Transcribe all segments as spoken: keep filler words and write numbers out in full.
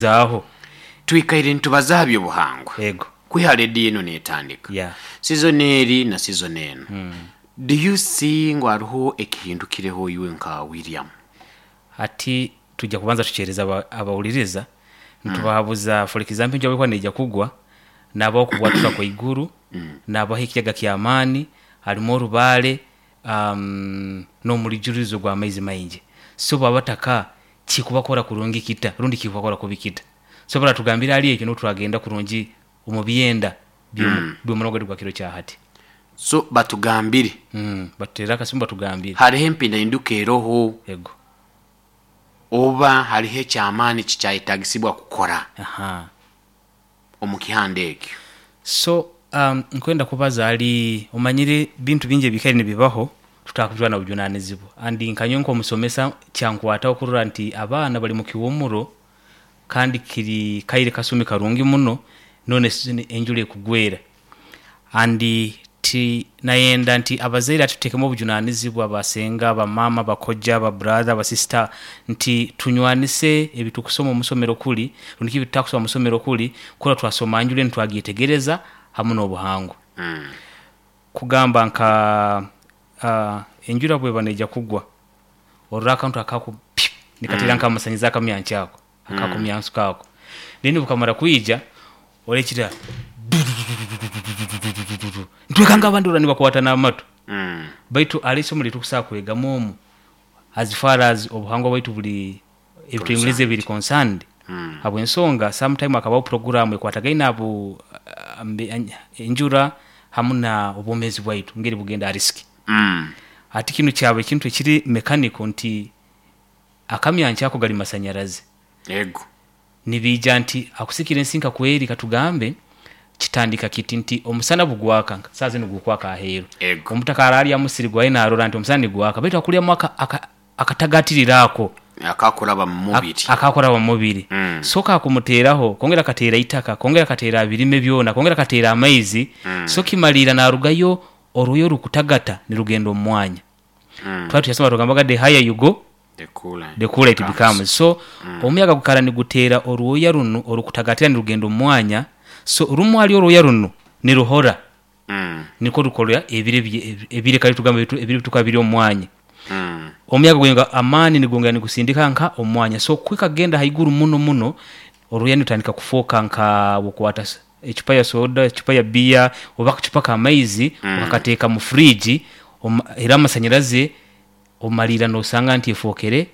Zaaho. Twikaire nitubaza aha by'obuhangwa. Yego. Kwiha rediyo enu neetandika. Yeah. Season eri na season enu. Do you see ngu hariho ekihindukireho iwe nka William? Hati tujya kubanza tukyereza aba- abawuliriza nitubahabuza, for example, enjura bwekuba neija kugwa, nabaho okubwatuka kwaiguru, nabaho ekiyaga kyamaani harimu orubaare, um, n'omurijurizo gw'amaizi maingi. So baba bataka kikubakora kurungi kita rundi kikubakora kubi kita? So baratugambira hali ekyo, niho twagenda kurungi omu byenda by'omurogo gwaitu gwa kiro kya hati. So batugambire. mm, batuteerere akasimu batugambire. Hariho empindahinduka eroho Ego. oba hariho ekyamaani kikyayetagisibwa kukora Aha. omu kihanda ekyo? So um, nkwenda kubaza hali omanyire bintu bingi ebikaire nibibaho tutakujwana bujunanizibwa, andi nkanywe nk'omusomesa kyankwataho kurora nti abaana bali mu kiwumuro kandi kiri kaire kasumi karungi muno, none season enjura ekugwera, andi ti nayenda nti abazaire ati tutekemu obujunanizibwa, basenga, bamama, bakojja, babrother, basista, nti tunywanise ebitukusoma omusomero kuli rundi ebitutakusoma musomero kuli kura twasoma njure nitwagyetegereza hamu n'obuhangwa. Mm. Kugamba nka uh, enjura bweba neija kugwa, orora akantu akaku pyu, nikateera nk'amasanyizi akamyanki ako akakumyansuka kako, then bukamara kwija orekira ntwekanga abandi ora nibakwata n'amatu. Mm. Baitu hali isomo litukusobola kwegamu omu as far as obuhangwa bwaitu buli ebitwenguleze biri concerned, Mm. habwensonga sometime akabaho programu ekwatagaine abo ah, mbe- an- enjura hamu na obwomezi bwaitu ngeri bugenda risk. Mm. Ati kinu kyaba ekintu ekiri mechanical nti akamyanki ako gali masanyarazi. Ego. Nibiija nti akusikira ensi nka kweri, katugambe kitandika kiti nti omusana bugwaka saa zinu gukwaka aheeru. Ego. Omutaka ararya musiri gwaye narora nti omusana nigwaka, baitu akulyamu aka- aka- akatagatirira ako akakuraba mu mubiri. Akakuraba mu mubiri. Mm. So kakumuteeraho kongera akateera itaka, kongera akateera birime byona, kongera akateera amaizi. Mm. So kimalira narugayo oruyo rukutagata nirugenda omu mwanya. Mm. Twali tuyasoma tugambaga, the higher you go, the cooler the cooler it becomes. So omuyaga gukara niguteera orwoya runu orukutagatira nirugenda omu mwanya, so rumu hali orwoya runu niruhora. Mm. Niko rukora ebire bye- ebire kali tugamba ebitu- ebire bituka biri omu mwanya. Mm. Omuyaga gwenga amaani nigongera nigusindika nka omwanya, so kwikagenda haiguru muno muno oruya nitandika kufoka nka bukwata s- ecupa ya soda, ecupa ya biya oba akacupa k'amaizi, Mm. okakateeka mu fridge, oma- era amasanyarazi omalira nosanga nti efokere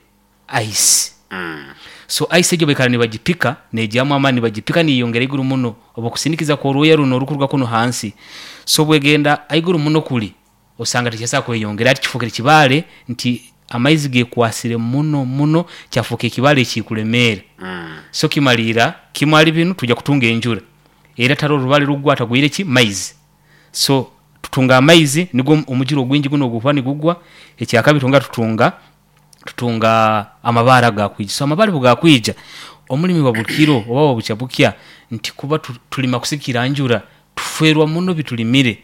ice. Mm. So ice egyo baikara nibagipika negyamu amaani, nibagipika niyongera iguru muno oba okusindikiza kworuya runo orukuruga kuno hansi. So bwegenda aiguru muno kuli osanga tekyasobola kweyongera, ati kifokere kibaale nti amaizi gekwasire muno muno kyafuuka ekibaale ekikulemeera. Mm. So kimalira kimwali binu tujja kutunga enjura era tari orubale rugwa atagwire ki maizi, so tutunga amaizi nigwo omujura ogwingi guno ogukuba nigugwa. Ekyakabiri tunga tutunga tutunga amabaare agakwija. So amabaare bwegakwija omulimi wa bukiro oba wa bukya bukya nti kuba tu- tulima kusikira njura tufwerwa muno bitulimire,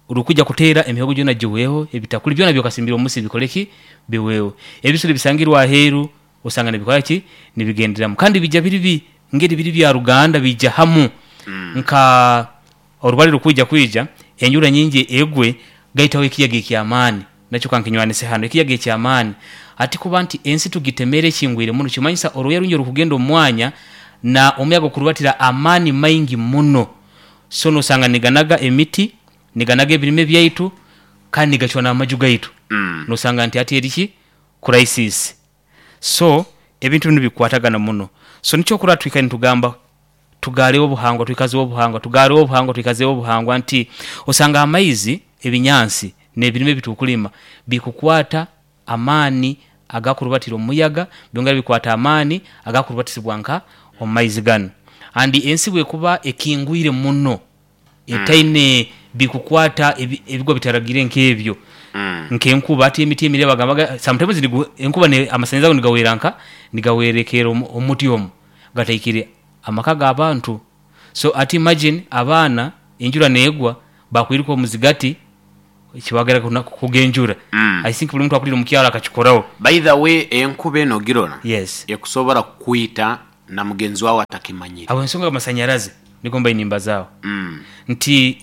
urukuja kuteera emihogo gyona giweho, ebitakuli byona byokasimbira omusi bikoleki biweho, ebisolo bisangirwa aheeru osanga nibikola ki nibigenderamu, kandi bija biri bi ngeri biri bya ruganda bija hamu nka orubale rukwija kwija enjura nyingi egwe gaitaho ekiyaga ekyamaani, nakyo kankinywanise hano ekiyaga ekyamaani. Ati kuba nti ensi tugitemere ekingwire muno, kimanyisa oruya rungi orukugenda omu mwanya na omuyaga okurubatira amaani maingi muno, so nosanga niganaga emiti, niganaga ebirime byaitu kandi nigacwa n'amaju gaitu. Mm. Nosanga nti ati eriki crisis. So ebintu binu bikwatagana muno, so nikyo kurora twikare nitugamba tugareho obuhangwa, twikazeho obuhangwa, tugareho obuhangwa, twikazeho obuhangwa, nti osanga amaizi, ebinyansi n'ebirime ebitukulima bikukwata amaani agakurubatira omuyaga, byongera bikwata amaani agakurubatisibwa nka omu maizi ganu. Andi ensi bwekuba ekingwire muno etaine bikukwata ebi- ebigwa bitaragire nk'ebyo Mm. nkenkuba, ati emiti emire bagambaga sometimes nigu, enkuba ne, amasanyalaze ago nigawera nka nigawerekera omu- omuti omu gataikire amaka g'abantu. So ati imagine abaana enjura neegwa bakwiruka omuzigati kibagera kugenjura. Mm. I think buli muntu akulira omukyalo akakikoraho. By the way, enkuba eno girora Yes. ekusobola kukwita. Na mugenzi wawe atakimanyire. Aho ensonga amasanyarazi nigo mbaine nimbazaaho Mm. nti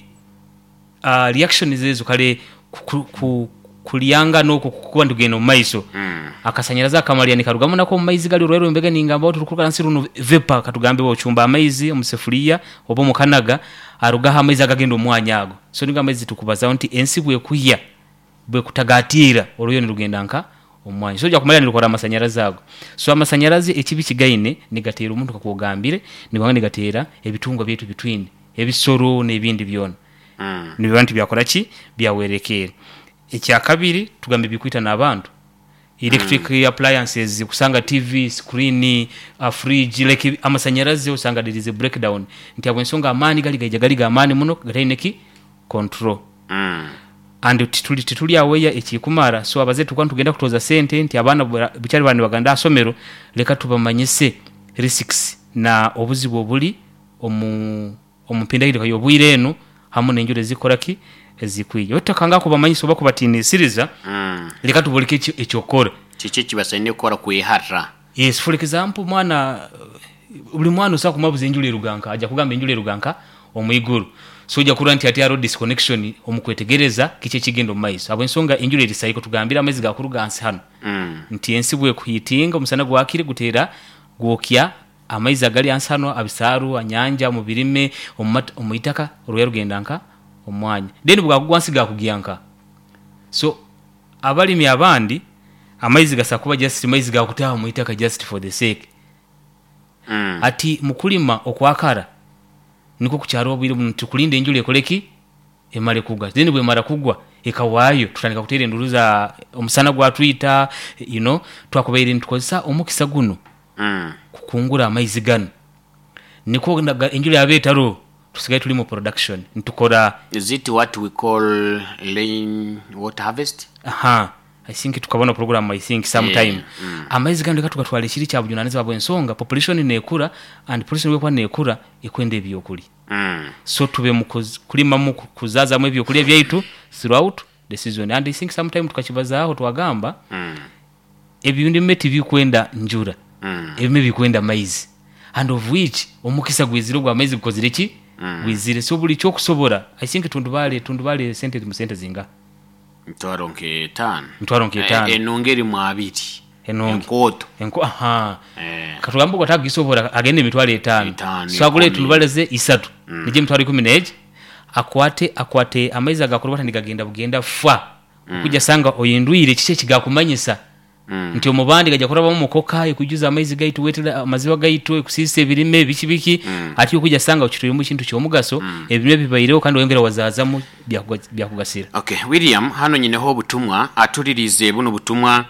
uh, reaction zezo kale ku, ku, kulyanga noko kukuba ndugenda omu maiso. Mm. Akasanyarazi akamalya nikarugamu nako omu maizi gali orwaire mbega ningamba turukuruka nsi runo vapor, katugambe ochumba amaizi omu sefuliya oba omu kanaga arugaho amaizi agagenda omwanya ago. So nigo amaizi tukubazaho nti ensi bwekuhya bwekutagatiira oruyo nirugenda nka omwanya, so ojja kumanya nirukora amasanyarazi ago. So amasanyarazi ekibi kigaine nigateera omuntu kakwogambire nigwanga nigateera ebitungwa byaitu bitwine ebisoro n'ebindi byona. Mm. Nibiba nti byakora ki byawerekeere. Ekyakabiri tugambe bikwita n'abantu electric mm. appliances, kusanga T V screen, uh, fridge, like amasanyarazi osanga there is a breakdown nti abo ensonga amaani gali gaija gali gamaani muno gataine ki control. Mm. And tituli tituli aweya ekikumara. So abaze tukuba nitugenda kutoza sente nti abaana bura- bukyali bana nibagenda asomero, leka tubamanyise risks na obuzibu obuli omu omu mpindahindika y'obwire enu hamu n'enjura ezikora ki ezikwija otakanga kubamanyisa oba kubatinisiriza. Mm. Leka tuboleke ekyo- ekyokukora. Kiki ekibasaine kukora kweharra? Yes, for example, mwana buli mwana osobola kumubuza enjura eruganka, ajja kugamba enjura eruganka omwiguru. So ojja kurora nti ati hariho disconnection omu kwetegereza kiki ekigenda omu maiso habwensonga enjura eri saiko tugambire amaizi gakuruga hansi hano. Mm. Nti ensi bwekuhitinga omusana gwakire guteera gwokya amaizi agali hansi hano abisaaru anyanja mu birime omu itaka oruya rugenda nka omwanya, then bwakugwa hansi gakugya nka. So abalimi abandi amaizi gasa kuba just maizi gakutaha mu itaka just for the sake. Mm. Ati mukulima okwakara niko kukyaro obwire buno tukulinda enjura ekoleki emale kugwa, then bwemara kugwa ekawaayo tutandika kuteera enduru za omusana gwatwita you know twakubaire nitukozesa omukisa guno Mm. kukungura amaizi gano niko naga- enjura yaba etaro tusigaye tuli mu production nitukora. Is it what we call rain water harvest? Aha, I think tukabona program, I think sometime. Yeah, mm. Amaizi gano leka tugatwala ekiri kya bujunanizibwa bw'ensonga population nekura and population bwekuba nekura ekwenda ebyokulya. Mm. So tube mu kuz- kulimamu ku- kuzazamu ebyokulya byaitu throughout the season. And I think sometime tukakibazaaho twagamba Mm. ebindime tibikwenda njura, Mm. ebime bikwenda maizi, and of which omukisa gwizire ogwa amaizi gukozire ki gwizire. So buli kyokusobora, I think tundubale tundubale sente mu sente zinga Mitwaro nk'etaano. Mitwaro nk'etaano. Eh, enungi erimu abiri. Enungi. Enkooto. Enko aha. Eh. Katugambe ogwo atagisobora agende emitwaro etaano. Etaano, so agule ikumi. tundubale ze isatu mm. nije emitwaro ikumi neegi akwate akwate amaizi agakorwa nigagenda bugenda fa mm. okujja sanga oyindwire kiki ekigakumanyisa Mm. nti omubandi gajja kurabamu mukoka ekujuza amaizi gaitu wetera amaziba gaitu ekusiisa ebirime biki biki mm. ati okujja sanga okitwiremu ekintu kyomugaso mm. ebirime bibaireho kandi oyongera wazaazamu byakuga- byakugasira. Okay, William, hano nyineho obutumwa atulirize buno butumwa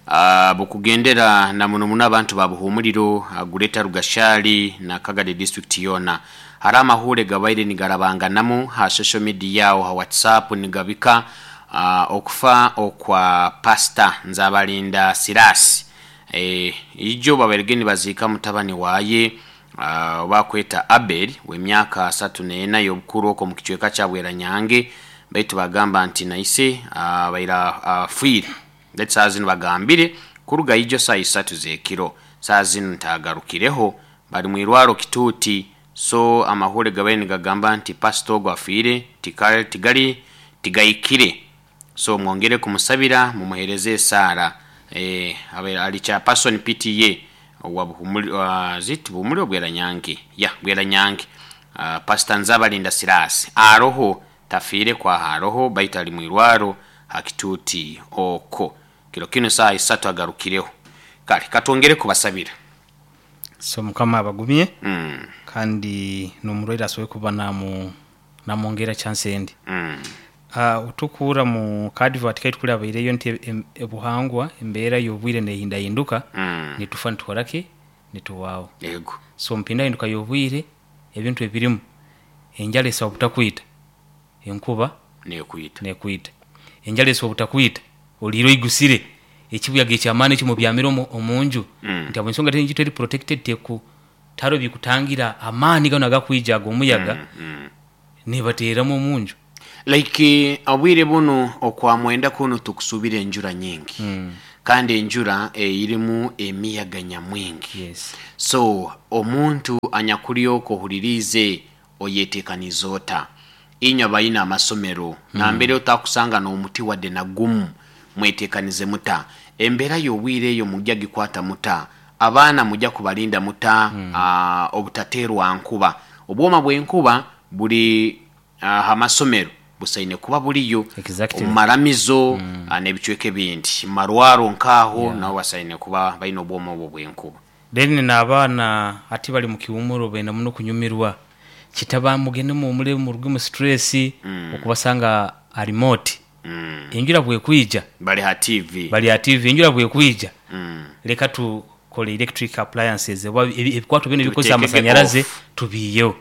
uh, bukugendera na muno muno abantu ba Buhumuriro, uh, Greater Rugashali na Kagadi district yona. Hari amahure gabaire nigarabanganamu ha social media yawo ha WhatsApp nigabika uh, okufa okwa Pastor Nzabalinda Sirasi. eh, ijo babairege nibaziika mutabani waye uh, bakweta Abel w'emyaka asatu n'ena y'obukuru okwo mu kicweka kya Bweranyange, baitu bagamba nti naise uh, baira afiire uh, ndetse saa zino bagambire kuruga ijo saa isatu z'ekiro saa zino ntagarukireho bari mu irwaro Kituuti. So amahure gabaire nigagamba nti pastor ogwo afiire tikali tigali tigayikire, so mwongere kumusabira mumuhereze esaara. eh, abe- ali chairperson P T A wa Buhumuli, wa zit Buhumuli Bweranyange ya Bweranyange. uh, pastor Nzabalinda Sirasi aroho tafiire kwa haroho baitu ali mwirwaro hakituti oko kiro kino saa isatu agarukireho. Kale katwongere kubasabira. So mukama abagumye mm, kandi nomurwaire asobole kuba namu namwongera chance endi. mm, uh, utukura mu kadivati kaitu kuri abaireyo nti em- ebuhangwa embeera y'obwire nehindahinduka mm. nitufa nitukoraki nituwaawo. Yego. So mpindahinduka y'obwire ebintu ebirimu enjala esobola obutakwita, enkuba nekwita. Nekwita. Enjala esobola obutakwita oliire oigusire ekibuyaga ekyamaani ekimubyamire omu- omunju Mm. nti abo ensonga tenju teri protected teku taro bikutangira amaani gano agakwija ag'omuyaga mm. nebateeramu omunju. Like obwire buno okwa mwenda kuno tukusubira enjura nyingi mm. Kandi enjura erimu emiyaga nyamwingi. Yes. So omuntu anyakulyoka ohuririize, oyetekaniza ota? Inywe abayina amasomero, nambere otakusanga n'omuti wadde nagumu, mwetekanize muta? Embeera y'obwire eyo mujja gikwata muta? Abaana mujja kubalinda muta ah, obutateerwa nkuba? Obwoma bw'enkuba buli aha masomero busaine kuba buriyo. Exactly. Omu maramizo ah, n'ebicweka ebindi, mu marwaro nkaaho nabo basaine kuba balina obwoma obwo bw'enkuba. Then n'abaana ati bali mu kiwumuro, benda muno kunyumirwa kitaba, mugende muwumule, muruge mu stress. Okubasanga a remote, Mm. enjura bwekwija, bali ha T V. Bali ha T V. Enjura bwekwija, Mm. leka tukole electric appliances oba ebi- ebikwato bino ebikozesa Tubitekege amasanyalaze off. Tubiiyeho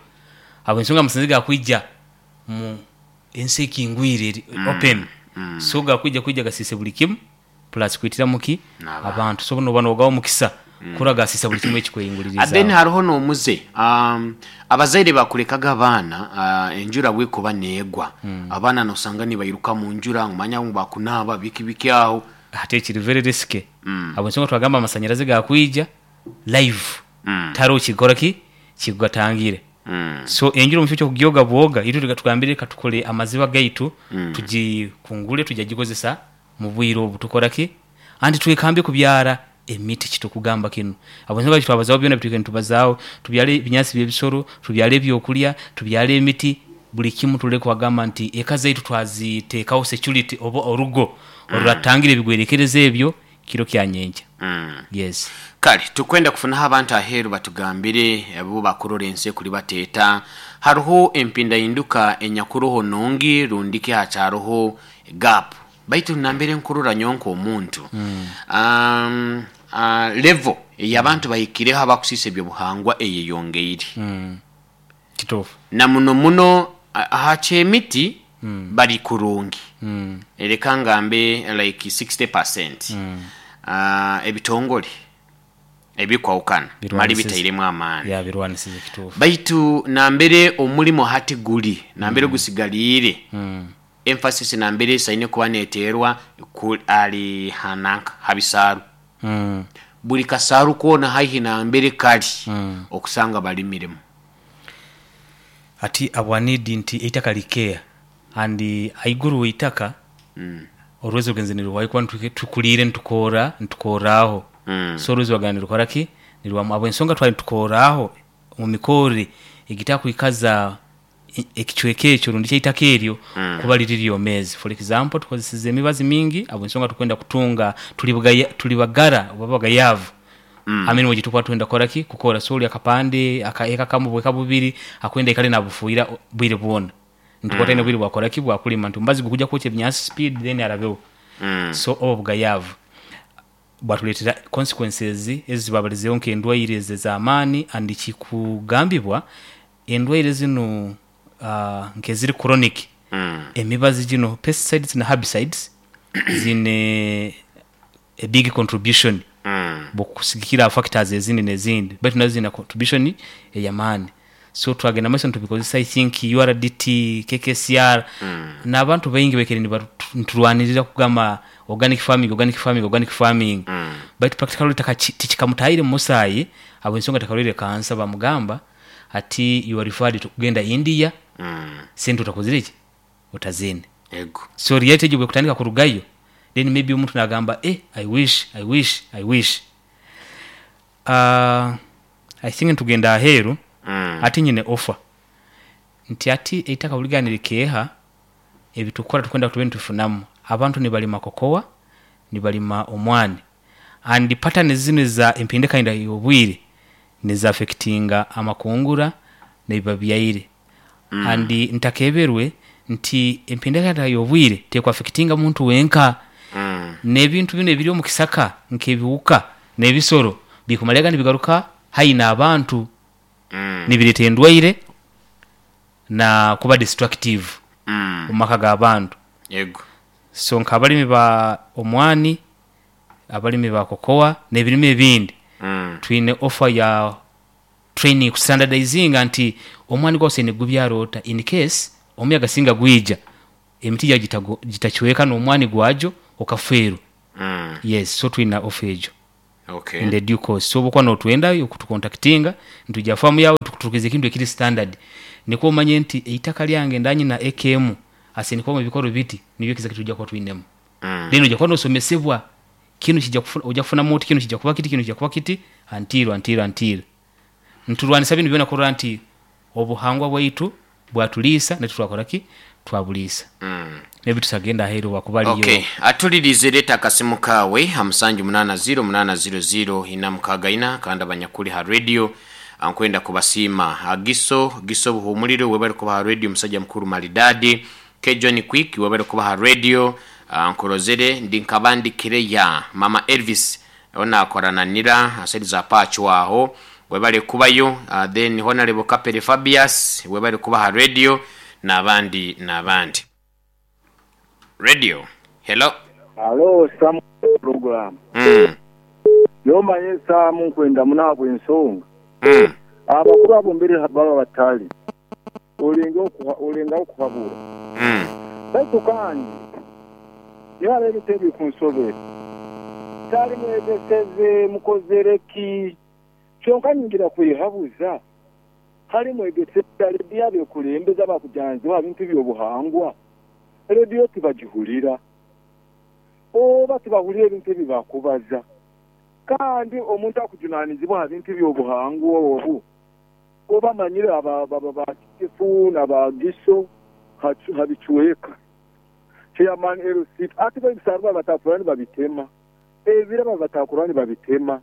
abo ensonga amasanyalaze gakwija mu ensi ekingwire eri open, so gakwija kwija gasise buli kimu, plus kwitira muki N'abantu. Abantu, so noba nogawo mukisa kura gasisa buli kimu then ekikweyinguliriza. Hariho n'omuze, um, abazaire bakulekaga abaana uh, enjura bwekuba neegwa, abaana nosanga nibairuka mu njura, ngumanya ngu bakunaaba biki biki aho. Ate ekiri very risky abo ensonga twagamba amasanyalaze gakwija live, Mm. tariho kikora ki kikugatangire. Mm. So enjura omukifo kyokugyoga bwoga, itwe tugambire reka tukole amaziba gaitu, tugikungule, tujja gikozesa mu bwire obu. Tukora ki? Anti twekambe kubyara emiti. Kitukugamba kinu abo ensonga kitwabazaho byona bitwike nitubazaaho, tubyale ebinyaasi byebisoro, tubyale ebyokulya, tubyale emiti, buli kimu. Tuleke kwagamba nti eka zaitu twaziteekaho security oba orugo oruratangira ebigwerekereza ebyo kiro kyanyenkya. Mm. Yes. Kale tukwenda kufunaho abantu aheeru batugambire abo bakurora ensi ekuri bateeta. Hariho empindahinduka enyakuroho nungi rundiki hakyaroho gap, baitu nambere nkurora nyonka omuntu um, uh, level eyabantu bahikireho abakusiisa ebyobuhangwa eyeyongeire. Kituufu. Na muno muno a- aha kyemiti bari kurungi, mm. reka ngambe like sixty percent. uh, ebitongole ebikwawukana mali Birwanisize. bitairemu amaani. Ya, birwanisize, kituufu. Baitu nambere omulimo hati guli nambere gusigaliire, mm. emphasis nambere esaine kuba neteerwa ku- ali hananka habisaaru. Mm. Buli kasaaru koona haihi nambere kali Mm. okusanga balimiremu. Ati abwanidi nti eitaka likeya and aiguru weitaka Mm. orwezo rugenze niruhwayo kuba nituke- tukuliire nitukoora nitukooraaho. Mm. So orwezo rwagana nirukora ki? Nirwamu abo ensonga twali nitukooraaho mu mikorere egitakwikaza e- ekicweka ekyo rundi kyeitaka eryo kuba liri lyomezi. For example, tukozeseze emibazi mingi abo ensonga tukwenda kutunga tuli bugaya- tuli bagara oba bagayavu mm. Amene gitukuba twenda kukora ki? Kukora. So oli akapande akaeka kamu bweka bubiri akwenda ikale nabufuira bwire bwona, ntukwata mm. Bwire bwakora ki? Bwakulima, nti ombazi gukujja kwokya ebinyansi speed, then arabeho. Mm. So obo bugayavu bwatuleetera consequences ezibabalizeho nk'endwaire ezi ez'amaani, and kikugambibwa endwaire zino uh, nk'eziri chronic, Mm. emibazi gino, pesticides na herbicides, zine a big contribution Mm. bwokusigikira factors ezindi nezindi, baitu nazo zina contribution eyamaani. So twagenda maiso nitubikozesa. I think U R D T, K K C R mm. n'abantu baingi baikere niturwanirira kugamba organic farming, organic farming, organic farming, Mm. baitu practically taka- tikikamutahire mumusaayi abo ensonga takarwaire kansa, bamugamba ati you are referred to kugenda India. Mm. Sente utakozire ki? Utazine. Ego. So reality egyo bwekutandika kurugayo, then maybe omuntu nagamba, "Eh, I wish, I wish, I wish." uh, i think ntugenda aheeru. Mm. Ati nyine offer nti ati eitaka buligani likeeha ebitukora tukwenda tube nitufunamu. Abantu nibalima kokowa, nibalima omwani, and pattern zino za empindikainda y'obwire nizaffectinga amakungura nebiba byaire mm. And ntakeberwe nti empindikainda y'obwire tekwaffectinga muntu wenka Mm. n'ebintu bino ebiri omu kisaka nk'ebiwuka n'ebisoro bikumalyaga nibigaruka haina abantu, Mm. nibireeta endwaire na kuba destructive Mm. mu maka g'abantu. Ego. So nk'abalimi ba omwani, abalimi ba kokowa n'ebirime ebindi, Mm. twine offer ya training kustandardizinga nti omwani gwose nigubyara ota, in case omuyaga singa gwija, emiti gyago gitacweka n'omwani gwagyo okafeerwa. Mm. Yes, so twina offer egyo Okay. in the due course. So obukuba notwenda okutukontaktinga, nitujja famu yawe tukuturukiza ekintu ekiri standard, nikwo omanye nti eitaka lyange ndanyina ekemu asenikwamu ebikoro biti, nibyo kiza kitujja kuba twinemu. Mm. Then ojja kuba nosomesebwa kinu kijja kufuna, ojja kufunamu oti kinu kijja kuba kiti, kinu kijja kuba kiti, until until until nturwanisa binu byona kurora nti obuhangwa bwaitu bwatuliisa netutwakora ki twabuliisa. Mm. Nebi tusagenda aheeru wakuba aliyo. Okay, atulirize, leeta akasimu kaawe ha musanju munaana ziro munaana ziro ziro ina mukaaga ina. Kandi abanyakuli ha radio nkwenda kubasiima. Agiso Giso Buhumuliro, webale kuba ha radio. Musajja mukuru maridadi K John Quick, webale kuba ha radio. ah, nkurozere ndi nkabandikire ya Mama Elvis onakorana nira aseri za pachu aho, webale kubayo. uh, then Honorable Kapere Fabius, webale kuba ha radio, n'abandi n'abandi. Radio, hello. Alo, Samu program. mm. Yomanye Samu, nkwenda munabwe ensonga. Mm. Abakuru abo mbere baba batali olenga okuha olenga okuhabura. Mm. Baitu kandi yaba ebitebe ku nsobe tali mwegeseze mukozereki, kyonka nyingira kwehabuza hali mwegeseze rediyo abekulembeza bakujanzibwa bintu byobuhangwa, rediyo tibagihulira oba tibahulira ebintu ebibakubaza. Kandi omuntu akujunanizibwa ha bintu byobuhangwa obu oba manyire aba bakitifu n'abagiso habicuweka chairman L C ati babisarwa batakurani babitema, ebiraba batakurani babitema,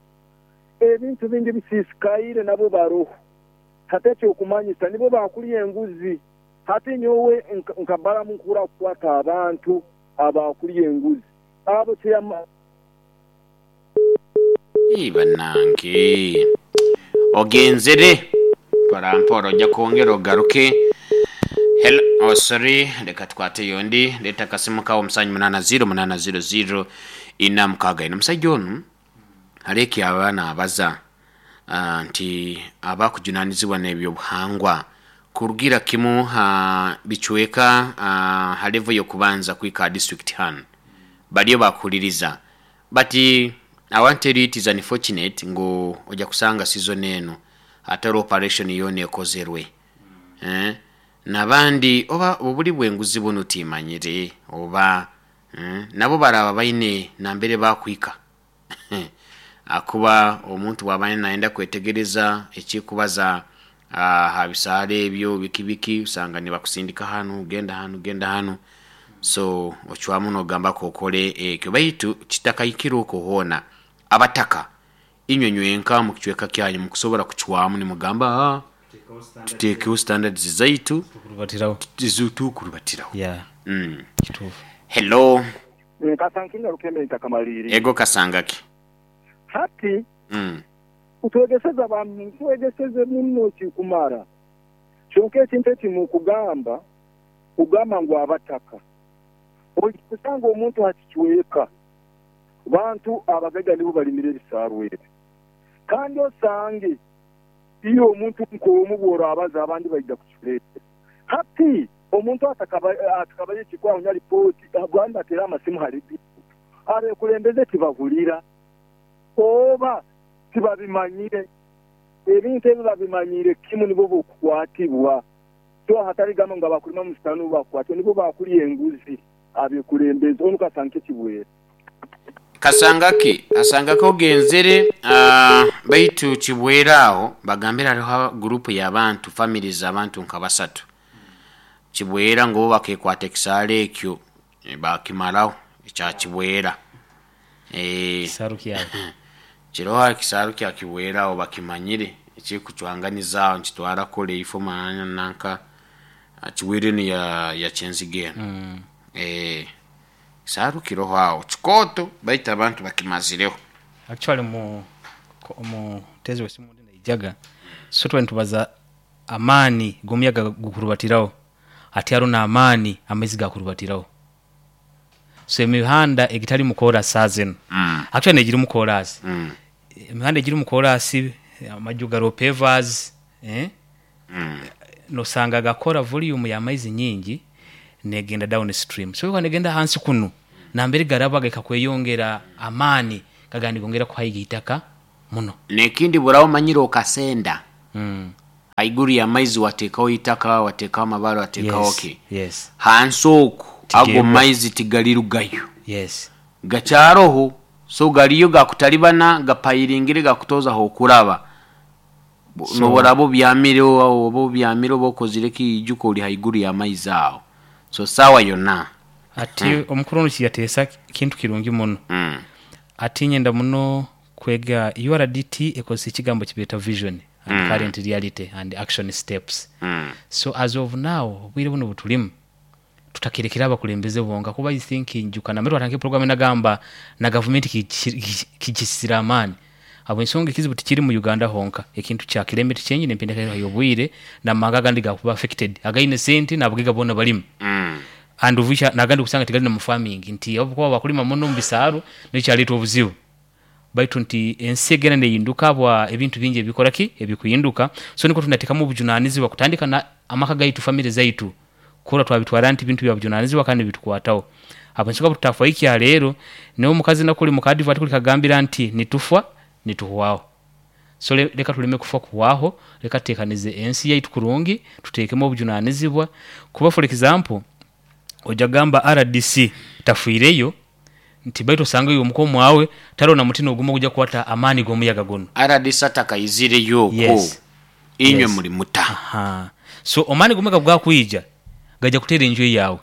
ebintu bingi bisisikaire nabo baroho. Hati ekyokumanyisa nibo bakulya enguzi. Hati nyowe nkabaramu nkura kukwata abantu abakulya enguzi abo chairman. Ii, bannange, ogenzere mporampora, ojja kwongera ogaruke. Hello, oh, sorry, leka tukwate yondi. Leeta akasimu kawo musanju munaana ziro munaana ziro ziro ina mukaaga ina. Omusajja onu aleki abaana abaza ah, nti abakujunanizibwa n'ebyobuhangwa kurugira kimu ha bicweka uh, ha level y'okubanza kwika district hano baliyo bakuhuliriza. But I want to tell you, it is unfortunate ngu ojja kusanga season eno atari operation yona ekozerwe, eh? Nabandi oba obuli bwenguzi buno timanyire oba eh? Nabo baraba baine nambere bakwika akuba omuntu bwaba nayenda kwetegereza ekikubaza ha bisaale ebyo biki biki, usanga nibakusindika hanu, genda hanu, genda hanu. So ocwamu nogamba kokole ekyo, baitu kitakahikire okwo hoona abataka inywe nywenka mu kicweka kyanyu mukusobola kucwamu nimugamba, "Ah, tuteekewo standards zaitu Tukurubatirawo. Tukurubatirawo." Yeah. mm. Kituufu. Hello. Nkasankinga rukembe ntakamaliri. Ego, kasangaki? Hati mm. utwegeseza abantu, twegeseze muno kikumara, kyonka ekintu ekimukugamba kugamba ngu abataka kusanga omuntu hakicweka bantu abagaiga nibo balimire ebisarwe ebi. Kandi osange iyo omuntu nk'omu bw'orabaza abandi baija kukireeta. Hati omuntu atakabaye ekikwahunya ripooti abandi batera amasimu hari abekulembeze tibahulira oba tibabimanyire. Ebintu ebi babimanyire kimu nibo bokukwatibwa, so hatari gamba ngu abakulima musitani bakwatibwa, nibo bakulya enguzi abekulembeze. Onu kasanke kibwera. Kasangaki, kasangaki ogenzere uh, baitu kibwera aho bagambira hariho gurupu y'abantu, families abantu nka basatu kibwera ngo bo bakekwata ekisaala ekyo, eh, bakimaraho ekya kibwera. Eh, Kisaru kyawe. Kiroho ekisaaru kya kibwera aho bakimanyire ekikucwanganiza nkitwara kule ifo mananya nanka ah, kibwera eno ya, ya kyenziga eno. Mm. Eh, kisaaru kiroho aho kikooto, baitu abantu bakimazireho. Actually mu ko- mu tezi wesimu ndi naijaga, so twali nitubaza amaani g'omuyaga gukurubatirawo, ati hariho n'amaani amaizi gakurubatirawo. So emihanda egitali mu koorasi saa zinu, mm. actually negiri mu koorasi, Mm. emihanda egiri mu koorasi, amaju gariho pavers, eh? Mm. Nosanga gakora volume y'amaizi nyingi negenda down stream, so eba negenda hansi kunu. Nambere garaba gekakweyongera amaani gagandi gongera kuhaiga itaka muno. Nekindi burawo manyire okasenda mm. haiguru ya maizi wateekawo itaka, wateekawo amabare, wateekawo yes. ki Yes. hansi oku ago Tigeebwa. maizi tigalirugayo Yes. gakyaroho, so galiyo gakutalibana gapayiringire gakutozaho okuraba. Bu- So- noboraba obyamire oba obyamire oba okozire kiijuka ori haiguru ya maizi aho, so saawa yonna. Ati omukuru ono kiyateesa kintu kirungi muno. Mm. Ati nyenda muno kwega U R D T ekozesa ekigambo kibeeta vision and mm. current reality and action steps. Mm. So as of now obwire buno butulimu tutakirekera abakulembeze bonka, kuba I think njuka namere watandika program nagamba na gavumenti kijisira amaani abo ensonga ekizibu tikiri mu Uganda honka, ekintu kya climate change n'empindahindura y'obwire n'amahanga agandi gakuba affected againe sente n'abagaiga boona barimu. Mm. And uvisha nagandi kusanga tigali na mu farming nti abakuba bakulima muno mu bisaaru nekyaleeta obuzibu, baitu nti ensi egenda neyinduka bwa ebintu bingi ebikora ki ebikuyinduka, so niko tunateekamu obujunanizibwa kutandika na amaka gaitu, family zaitu, kura twabitwara nti ebintu bya bujunanizibwa kandi bitukwataho. Abo ensonga bututafa ikya leero niwe omukazi nakuli mu advert kuli kagambira nti nitufa nituhwaho, so le, leka tuleme kufa kuhwaho, leka tuteekanize ensi yaitu kurungi, tuteekemu obujunanizibwa. Kuba for example ojja gamba R D C tafiireyo nti baitu osanga oyo omukomu wawe tarona mutima ogumu ogujja kukwata amaani g'omuyaga guno. R D C atakaizireyo okwo. Yes. Inywe Yes. muri muta. Aha. So amaani g'omuyaga gwakwija gajja kuteera enju yawe,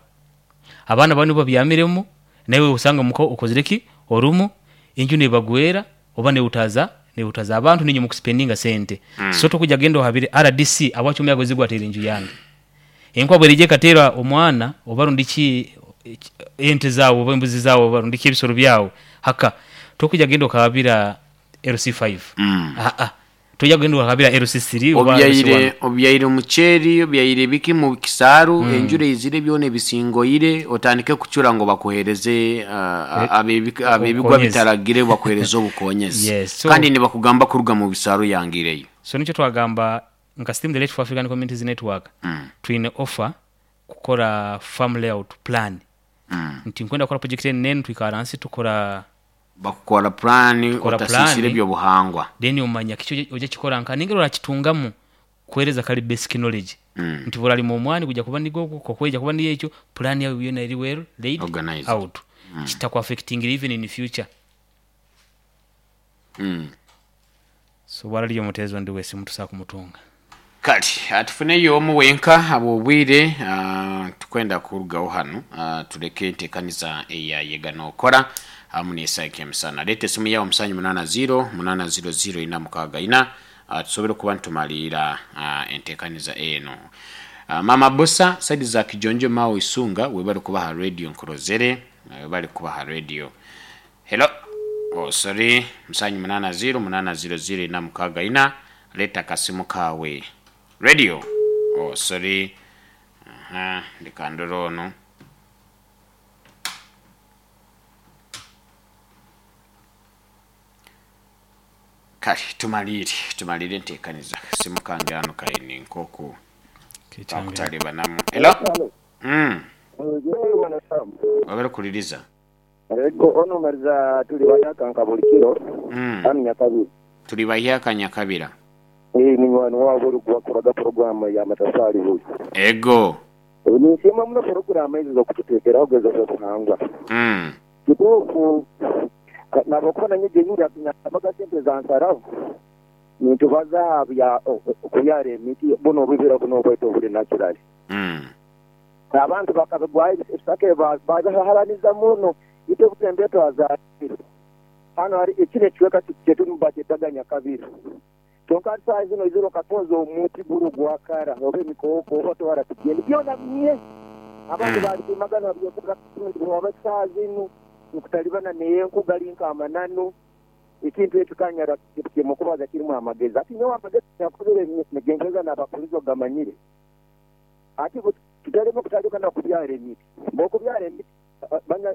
abaana banu babyamiremu, nawe osanga muko okozire ki orumu enju nebagwera oba neutaza neutaza abantu ninyo mukuspendinga sente. Mm. So tokujja genda ohabire R D C awacho omuyaga zigwatera enju yange, enkwa bwerije katera omwana oba rundiki ente zawo oba embuzi zawo oba rundiki ebisoro byawo haka tokujja genda okabira L C five. Mm. Ah ah tojja genda okabira L C three oba L C one. Obyaire obyaire omuceeri, obyaire biki mu kisaaru, mm. enjura ezire byona ebisingoire otandike kucura ngo bakuhereze uh, abebigwa bitaragire bakuhereze obukonyezi. Yes, so, kandi nibakugamba kuruga mu bisaaru yangireyo. So nikyo twagamba nka Steam the Late for African Communities Network. Mm. Twine offer kukora farm layout plan. Mm. Nti nkwenda kukora project nene twikara nsi tukora bakukora plan otasisire byo buhangwa, then omanya kicho oje kikora nka ningero rakitungamu kuhereza kali basic knowledge. Mm. Nti bora limo omwani kuja kuba nigo kokweja kuba ni ekyo plan yawe yona eri well laid organized out. Mm. Kitakwa affecting even in the future. Mm. So warali omutezo ndi wese mutusa kumutunga kati atufuneyo omu wenka abo obwire uh, tukwenda kurugaho hano uh, tuleke enteekaniza eya nokora amu n'esaika emisana. Leeta esimu yawe omusanju munaana ziro munaana ziro ziro ina mukaaga ina uh, tusobole okuba nitumalirira uh, enteekaniza eno. Uh, Mama Bosa saidi za Kijonjo Mao Isunga webali kubaha radio nkurozere, webali kubaha radio. Hello. Oh sorry, musanju munaana ziro munaana ziro ziro ina mukaaga ina, leeta kasimu kawe. Radio. Oh sorry. Aha, ndikandoro ono. Kale tumalire, tumalire nteekaniza. Simu kange hano kaini nkoku. Bakutalibanamu. Hello. Mm. Wabere kuliriza. Ego ono mariza tuli bayaka nkabulikiro. Mm. Ani Nyakabira. Tuli bayaka Nyakabira. Eh ni mwana wabo rugwakuraga programu ya matafari huyu. Ego. Ni sema muno programu hizo zo kututekera ogezo zo kuhangwa. Mm. Kitufu nabokona nyeje nyura kinyabaga sente za nsaravu. Nitubaza bya kuyare emiti buno bibira buno bweto buli natural. Mm. Abantu bakabigwaye ebisake bazaharaniza muno ite kutembeto azaliro. Hano hari ekire kiweka kyetu mubaketaga Nyakabira. Tonka size no iziro katonzo omuti buru gwakara obe mikoko oto wara tugende byona mye abantu bali kumagana byokuga oba size inu nkutalibana neye nkugalinka amananu ekintu etukanyara kimukubaza kirimu amagezi ati nyowe amagezi yakubire negenjeza n'abakulizo gamanyire ati tutarimo kutandika kubyara emiti bokubyara emiti banya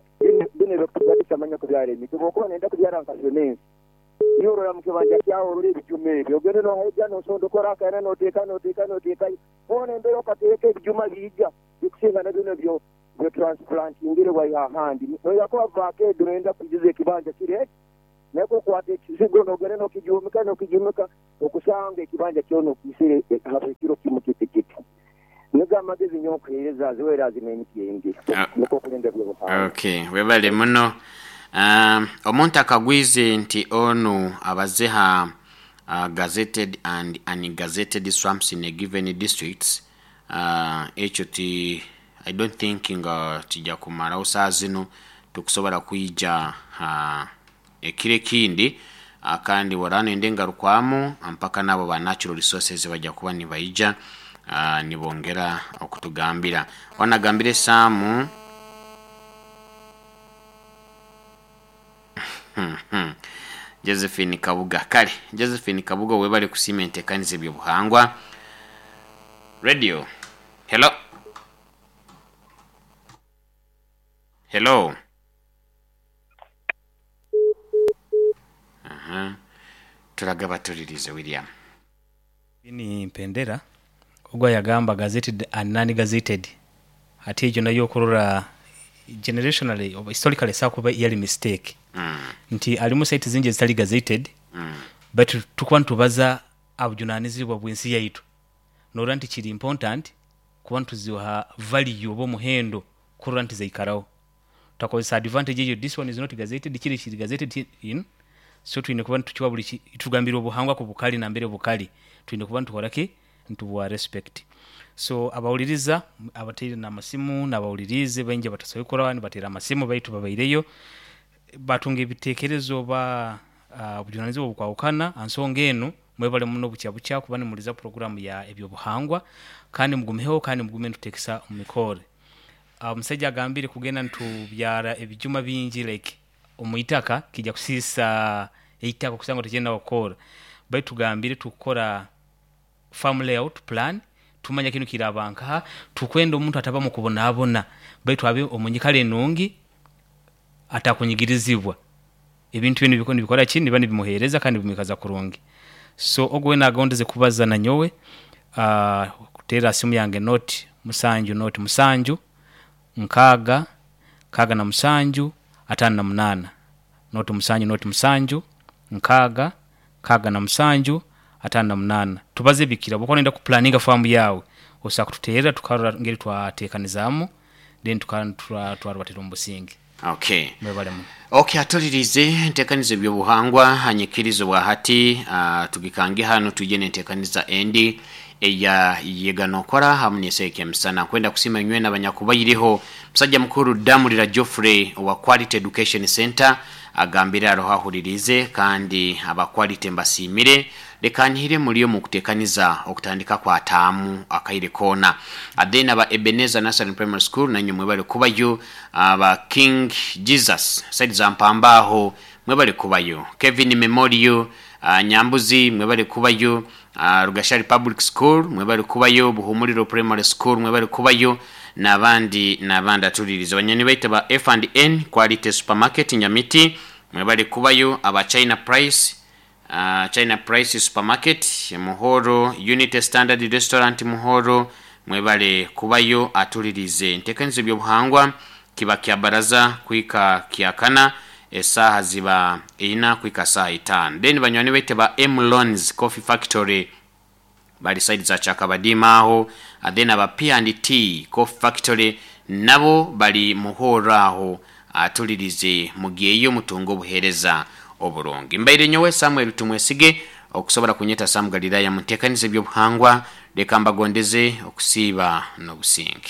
bine bekutugadisa manya kubyara emiti bokuba nenda kubyara nkasonensi yorora mukibanja kyawo ruri ebijuma ebyo ogende nohaija nosondokora akaina noteeka noteeka noteeka ona embere okateeka ebijuma biija bikusinga na bino byo Transplantingire waiha ahandi noyakuba vakedo noyenda kujiza ekibanja kire nekukwata ekizigo nogenda nokijumika nokijumika okusanga ekibanja kyona okisire haba ekiro kimu kiti kiti. Nigo amagezi nyo okuheereza ziwera zinemiti engi Ah. niko okulinda ebyobuhangwa. Okay, webale muno. um, omuntu akagwize nti onu abazeha uh, gazetted and ungazetted swamps in a given districts, uh, ekyo ti I don't think nga kijja kumalawo saa zino. Tukusobola kwija uh, ekiro ekindi, uh, kandi warano ende ngarukwamu mpaka nabo ba natural resources bajja kuba nibaija, uh, nibongera okutugambira wanagambire saamu. Josephine Kabuga, kale Josephine Kabuga, webale kusiima enteekaniza ebyobuhangwa radio. Hello, hello. Aha. Turagaba tulirize William. Ni mpendera ogwa yagamba gazetted and non gazetted ate egyo nayo okurora generationally oba historically sakuba yali mistake mm. nti alimu site zingi ezitali gazetted Mm. but tukuba nitubaza abujunanizibwa bw'ensi yaitu norora nti kiri important kuba nituziha value oba omuhendo kurora nti zaikaraho tutakozesa advantage eyo. This one is not gazetted, kiri kiri gazetted in, so twine kuba nitukiwa buli ki- tugambira obuhangwa ku bukali nambere bukali twine kuba nitukoraki nitubuwa respect. So abawuliriza abateire n'amasimu n'abawulirize baingi abatasobola kukora nibateera amasimu baitu babaireyo batunga ebitekerezo oba uh, obujunanizibwa obukwawukana ansonga enu. Mwebale muno bukya bukya kuba nimuliza programu ya ebyobuhangwa kandi mugumeho kandi mugume nitutekesa omu mikore. Omusajja agambire kugenda nitubyara ebijuma bingi like omuitaka kijja kusiisa eitaka kusanga tekyenda kukora baitu tugambire tukukora farm layout plan tumanya kinu kiraba nkaha tukwenda omuntu ataba mu kubonaabona baitu abe omunyikara enungi atakunyigirizibwa ebintu binu biko nibikora ki niba nibimuheereza kandi bimwikaza kurungi. So ogwo wena agondeze kubaza nanyowe, uh, kuteera simu yange noti musanju noti musanju nkaaga nkaaga na musanju ataano na munaana, noti musanju noti musanju nkaaga nkaaga na musanju ataano na munaana. Tubaze bikira bwokuba noyenda kuplaninga famu yawe osobola kututeerera tukarora ngeri twateekanizaamu then twarubatira omu businge. Okay. Mwebale muno. Okay, atulirize enteekaniza ebyobuhangwa hanyikirizo bwa hati, uh, tugikange hano tuje nenteekaniza endi eya yeganokora hamu neseeka emisana. Kwenda kusima nywe n'abanyakubairiho musajja mukuru Damulira Geoffrey owa Quality Education Center agambire aroho ahuririze kandi aba Quality mbasiimire. Leka nhire muliyo mu kuteekaniza okutandika kwa taamu akaire koona. Then aba Ebenezer Nursery Primary School nanywe mwebale kubayo, aba King Jesus side za Mpambaho mwebale kubayo, Kevin Memorial uh, Nyambuzi mwebale kubayo, uh, Rugashari Public School mwebale kubayo, Buhumuriro Primary School mwebale kubayo n'abandi n'abandi atuliriza banyoni baita ba F and N Quality Supermarket Nyamiti mwebale kubayo, aba China Price, uh, China Price Supermarket Muhoro, Unity Standard Restaurant Muhoro mwebale kubayo. Atulirize enteekanizo ebyobuhangwa kiba kya baraza kwika kyakana esaha ziba ina kwika saa itaano. Then banywani baite ba M Loans Coffee Factory bali side za Chakabadima aho. Then aba P and T Coffee Factory nabo bali Muhoro aho. Atulirize mugiyeyo mutunga obuheereza oburungi. Mbaire nyowe Samuel Tumwesige okusobola kunyeta Sam Galilaya muteekaniza ebyobuhangwa. Leka mbagondeze okusiiba n'obusinge.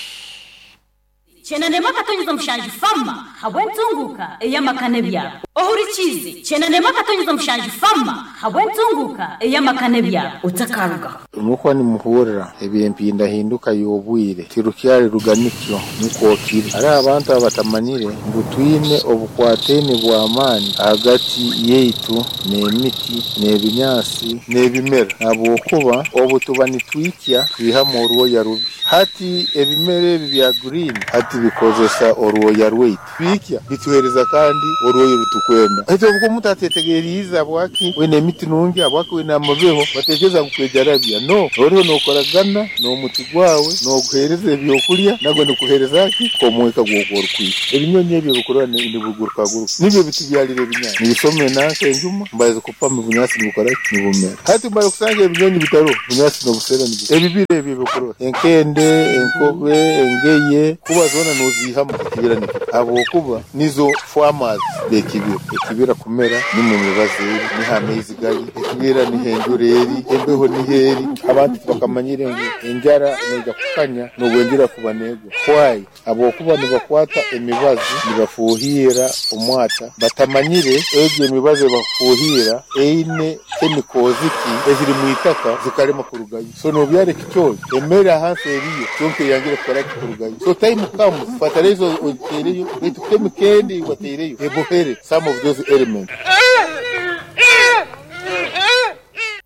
Chenanema katonyeza mushanju fama habwentunguka eyamakane byabo ohurikize. Chenanema katonyeza mushanju fama habwentunguka eyamakane byabo utakaruga. Mukuba nimuhurira ebyempindahinduka y'obwire tirukyari ruganikyo nikwo kiri hariho abantu abatamanyire ngu twine obukwatene bw'amaani hagati yaitu n'emiti n'ebinyaasi n'ebimera habwokuba obu tuba nitwikya twihamu orwoya rubi. Hati ebimera ebi bya green hati. Ebiti bikozesa orwoya rwaitu bikya bituhereza kandi orwoya rutukwenda. Ekyo obwo omuntu atetegeriize habwaki wine emiti nungi, habwaki wine amabeho, batekereza ngu kwejarabya. No, oriho nokoragana n'omuti gwawe, noguhereza ebyokurya, nagwe nikuhereza ki omwika gw'oku orukwiha. Ebinyonyi ebyo bikurora nibigurukaguruka, nibyo bitubyalira ebinyaasi. Nibisoma enanka enjuma, mbaza kupama ebinyaasi nibukora ki? Nibumera. Hati mara kusanga ebinyonyi bitaro, bunyaasi n'obusera nibu. Ebibira ebyo bikurora enkende, enkobe, engeye, kuba zoona noziihamu ekibira nikyo. Habwokuba nizo farmers b'ekibira. Ekibira kumera nimwo emibazi eri, niho amaizi gari, ekibira niho enjura eri, embeho niho eri. Abantu tibakamanyire ngu enjara neija kukanya n'obwenjura kuba neegwa. Why? Habwokuba nibakwata emibazi nibafuuhira omwata, batamanyire egyo emibazi ebakufuuhira eine chemicals ki eziri mu itaka zikarema kurugayo. So nobyara ekicoori, emere ahansi eriyo, kyonka eyangire kukora ki? Kurugayo. So time comes, fertilizer ogiteereyo, baitu chemical endi wateireyo ebohere some of those elements.